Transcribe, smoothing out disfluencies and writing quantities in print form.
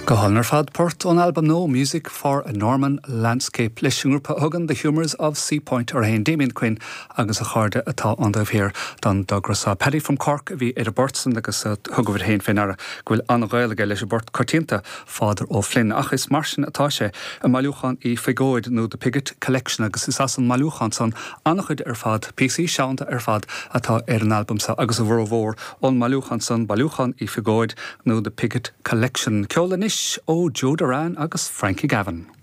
Go hálainn ar fad, port ón albam nua Music for a Norman Landscape leis an ngrúpa a thugann The Humours of Seapoint orthu féin, Damien Quinn agus a chairde atá ón dtaobh thiar den dtogra seo. Paddy from Cork a bhí ar an bport san agus thugabhair féin fé ndeara go bhfuil an-ghaol aige leis an bport coitianta Father O'Flynn. Ach is mar sin atá sé i mbailiúchán Uí Phiogóid nó The Piggott Collection agus is as an mbailiúchán san an-chuid ar fad, píosaí seanda ar fad atá ar an albam seo agus a bhformhór ón mbailiúchán san, Bailiúchán Uí Phiogóid nó The Piggott Collection. Ceol anois ó Joe Doran agus Frankie Gavin.